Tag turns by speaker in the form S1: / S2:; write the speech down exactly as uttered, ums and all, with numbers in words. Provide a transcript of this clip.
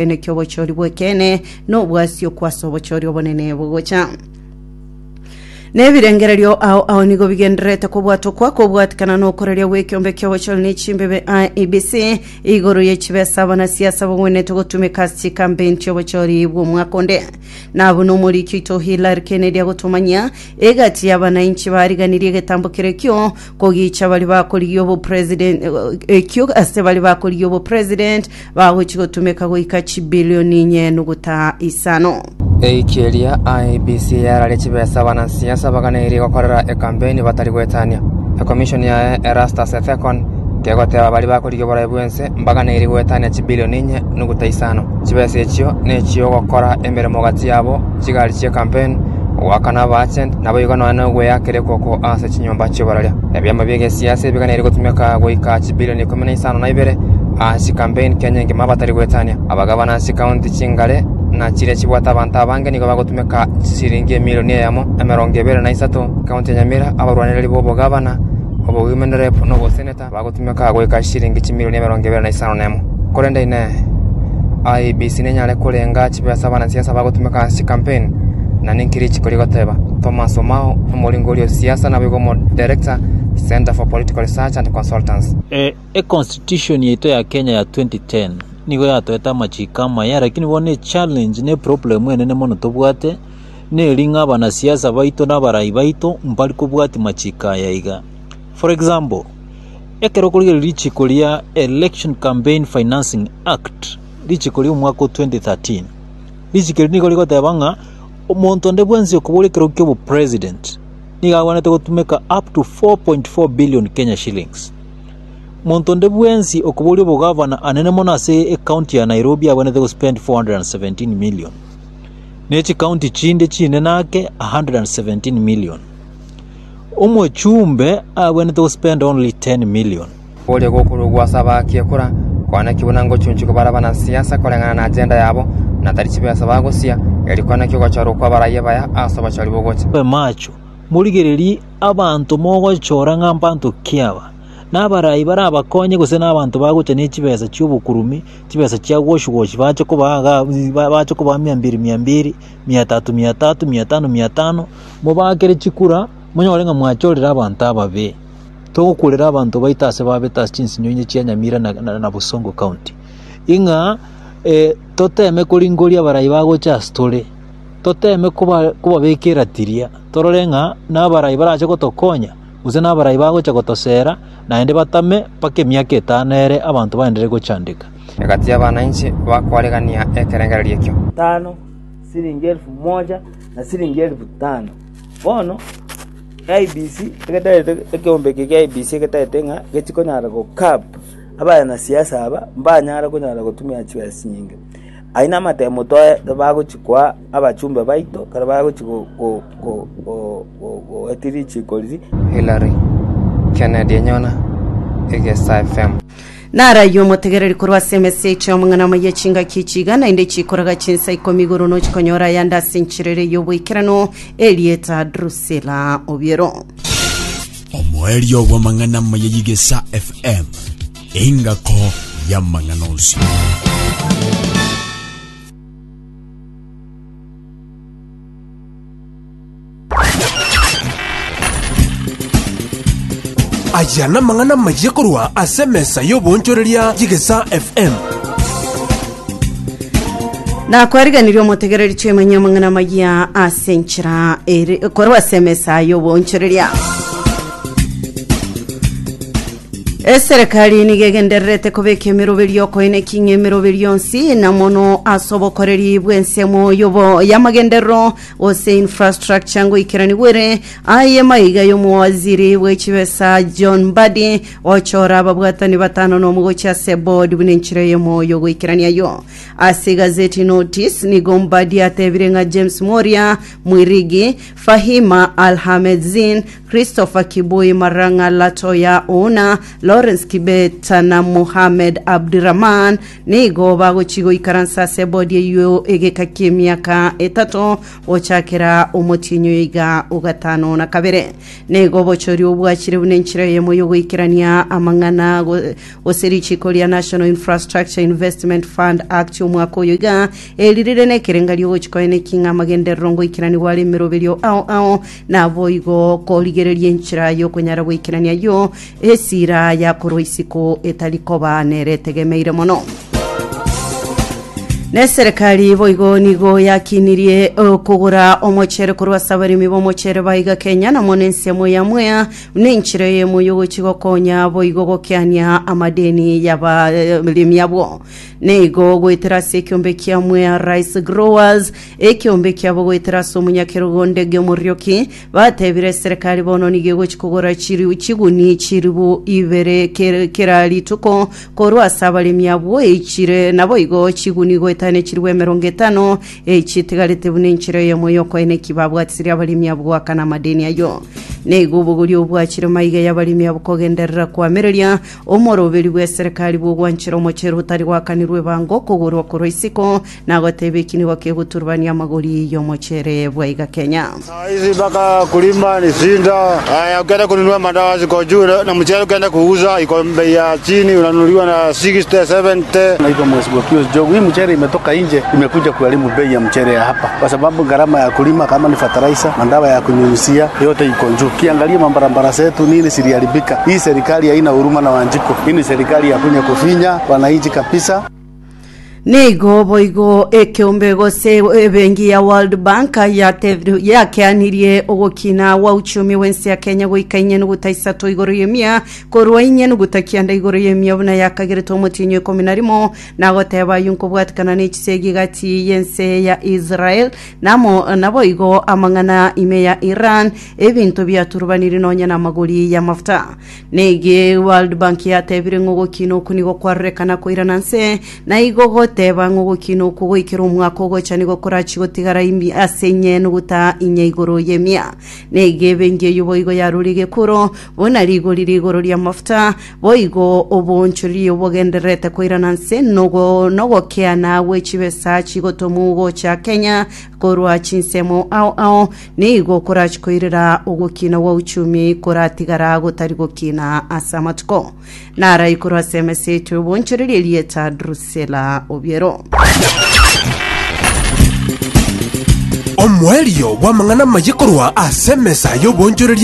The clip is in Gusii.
S1: Koenekia obochori bw'ekeene na obwasio kwase obochori obonene bogocha. Nebirengererio ao ao nigo bigendererete kobwatokwa kobwatikana nokoreria gw'ekeombe ki'obochori ne chimbebe I E B C igoro ye chibesa abanasiasa bagwenerete gotumeka ase chikampeni chi'obochori bw'omwaka onde. Na buna omoriki oito Hillary Kennedy agotomanyia, egati y'abanainchi bariganirie egetambo kere ekio kogicha bari bakorigia obopresident ekio ase bari bakorigia obopresident bagochi gotumeka goika chibilioni inye nuguta isano.
S2: Eiki eria I E B C yararia chibesa abanasiasa baganeirie gokorera ekampeni batari goetania. Ekomishoni yaye Erastus Ethekon kegoteba baria bakorigia oborai bw'ense mbaganeirie goetania chibilioni inye nuguta isano. Chibesa echio nechiogokora emeremo gati yabo chigari chi'ekampeni, goakana abaagent naboigo nonya nogweakera ekoko ase chinyomba chi'oboraria. Ebiama bi'egesiasa ebiganeirie gotumeka goika chibilioni ikomi na isano na ibere ase chikampeni Kenya engima batari goetania. Abagabana ase chikaunti chingare na chiria chibwate abanto abange nigo bagotumeka chisiringi emilioni eyemo emerongo ebere na isato. Ekaunti ya Nyamira abarwanereri b'obogabana, obowomen rep na oboseneta bagotumeka goika chiringi chimilioni emerongo ebere na isano na emo. Korende inee, I E B C nenyare korenga chibesa abanasiasa bagotumeka ase chikampeni na ninki richiko rigoteba? Thomas Omao omoringori o siasa naboigo omo director Center for Political Research and Consultants.
S3: E, econstitution yaito ya Kenya ya twenty ten nigo yatoete amachiko amaya, lakini bono echallenge na eproblem enene mono tobwate neri ng'a abanasiasa baito na abarai baito mbari kobwati machiko aya iga. For example, ekero okorigereria richiko ria Election Campaign Financing Act, richiko ria omwaka o twenty thirteen, richiko eri nigo rigoteba ng'a omonto onde bwensi okoboria ekero kia obopresident nigo agwenerete gotumeka up to four point four billion Kenya shillings. Monto onde bwensi okoboria obogavana anene mono ase ecounty ya Nairobi agwenerete gospend four hundred and seventeen million, ne chikaunti chinde chinene ake one hundred and seventeen million. Omochumbe agwenerete gospend only ten million.
S2: Boria gokorugwa ase abaaki ekura koaneki buna ngochunchuka bare abanasiasa koreng'ana na agenda yabo na tari chibesa bagosia eri koaneki ogochorwa kwa abarai baya ase obochori bogocha.
S3: Mobe macho, morigererie abanto mogochora ng'a mbanto ki aba, na abarai barabakonye gose na abanto bagocha ne chibesa chiobokurumi, chibesa chia wash wash bache kobaa iga bache kobaa mia mbili mia mbili, mia tatu mia tatu, mia tano mia tano, mobakere chikura, monyore ng'a mwachorire abanto ababe. Togokurera abanto baito ase babete ase chinsinyo inye chia Nyamira na, na, na Bosongo County. Ing'a eh, toteme koringoria abarai bagocha ase tore, toteme koba kobabeka eratiria, torore ng'a na abarai barache gotokonya, gose na abarai bagocha gotosera, naende batame mpaka emiaka etano ere abanto baenderere gochandeka.
S2: Egati y'abananchi bakwaregania ekerengererio ekio.
S4: Tano siringi elfu moja na siringi elfu tano. Bono I E B C egetarete ekeombe eke kia I E B C egetarete ng'a gechikonyara gocurb abanasiasa aba mbanyara konyara gotumia chibesa chinyinge. Ayio na amatemo toe bagochi koa abachumbe baito ekero bagochi go go go go goetia richiko riria.
S2: Hillary Kennedy Enyona, Egesa F M.
S1: Narayio omotegereri korwa ase emeseche omong'ana amaya chingaki chiga naende chikoraga chinsa ikomi igoro nochikonyora ayande ase encherere y'oboikerano erieta Drusilla Obiero.
S5: Omoerio bw'amang'ana amaya y'Igesa F M, engako y'amang'ana onsi.
S6: Aya namang'ana amaya korwa ase emesa y'obonchoreria y'Egesa F M.
S1: Nakwariganirie omotegereri twemanye amang'ana amaya ase enchera ere korwa ase emesa y'obonchoreria. Eserekari nigo egendererete kobeka emeroberio okoenekia ng'a emeroberio yonsi na mono ase obokoreri bw'ensemo yobo y'amagenderero gose infrastructure ngoikeranigwere aye maiga y'omowaziri bw'echibesa John Mbadi ochora ababwatani batano nomogochi ase board buna enchera eyemo yogoikerania yo. Ase gazeti notice nigo Mbadi atebire ng'a James Moria Mwirigi, Fahima Alhamed Zin, Christopher Kibui Maranga, Latoya Ona, Lawrence Kibeta na Mohamed Abdirahman nigo bagochi goikaransa ase ebodi eywo egeka kia emiaka etato gochakera omotinyo iga ogatano na kabere. Nigo obochori obwachire buna enchera eyemo yogoikerania amang'ana go- gose richiko ria National Infrastructure Investment Fund Act omwaka oyo iga eririre na ekerenga riogochikoena eking'a amagenderero ngoikeraniwa are emeroberio ao ao nabo igo korigereria enchera yokonyara goikerania yo esira yakorwa isiko etari koba nere etegemeire mono. Ne serikali boigo nigo yakinirie eh, kogora omochere korwa ase abaremi b'omochere baiga Kenya namo na ensemo ya Mwea na enchera eyemo yogochi gokonya boigo gokeania amadeni y'abaremi abwo. Nigo goetera ase ekiombe kia Mwea Rice Growers, ekiombe kiabo goetera ase omonyakerogo Ndege Omorioki batebire serikali bono nigo egochi kogora chiri chiguni chiribu ibere kera kera rituko korwa ase abaremi abwo echire nabo igo chiguni goetane chiribu emerongo etano echitigarete buna enchera eyemo yokoena eki babwatisirie abaremi abwo goakana amadeni ayo. Nigo obogori obwachire maiga y'abaremi abo kogenderera kwamereria omoroberi bwa eserikali bwogwanchera omochere otari gwakanirwe ebango kogorwa korwa isiko nagoteba eki nigo kegoturubania amagori y'omochere bwaiga Kenya.
S7: Saa hizi mpaka kulima ni shinda. Haya, ukienda kununua madawa ziko juu na na mchele ukienda kuuza iko bei ya chini, unanunuliwa na sitini sabini.
S8: Naitwa Mheshimiwa Pius Jogu. Hii mchele imetoka nje, imekuja kuharibu bei ya mchele ya hapa, kwa sababu gharama ya kulima kama ni fertilizer, madawa ya kunyunyizia yote iko juu. Ukiangalia mabarabara zetu nini ziliharibika. Hii serikali haina huruma na Wanjiko. Hii ni serikali ya kunya kufinya wananchi kabisa.
S1: Nigo boigo ekeombe gose ebengi ya World Bank yate- yakeanirie ogokina wa uchumi wensi ya Kenya goika inye nuguta isato igoro yemia korwa inye nuguta kianda igoro yemia buna yakagerete omotinyo ikomi na rimo nagoteba yu nkobwatikana na echisegi gati yense ya Israel namo nabo igo amang'ana ime ya Iran ebinto biaturubanire nonya na amagori ya mafuta. Nege World Bank yatebire ng'ogokina oku nigo kwarorekana koirana nse na igo goteba ng'ogokina oku goikera omwaka ogocha nigo korachi gotigara imi ase inye nuguta inye igoro yemia. Nege ebenki eywo boigo yarure gekuro bona rigori rigoro ria mafuta boigo obonchori obogendererete koirana nse nogo nogokeana gwe chibesa chigotomu gocha Kenya korwa chinsemo ao ao nigo korachi koirera ogokina wa uchumi koratigara gotari gokina ase amatuko nara ikorwa ase emesete obonchoreria rieta Drusela Obiero.
S6: Omwerio bw'amang'ana maye korwa ase emesa y'obonchoreria.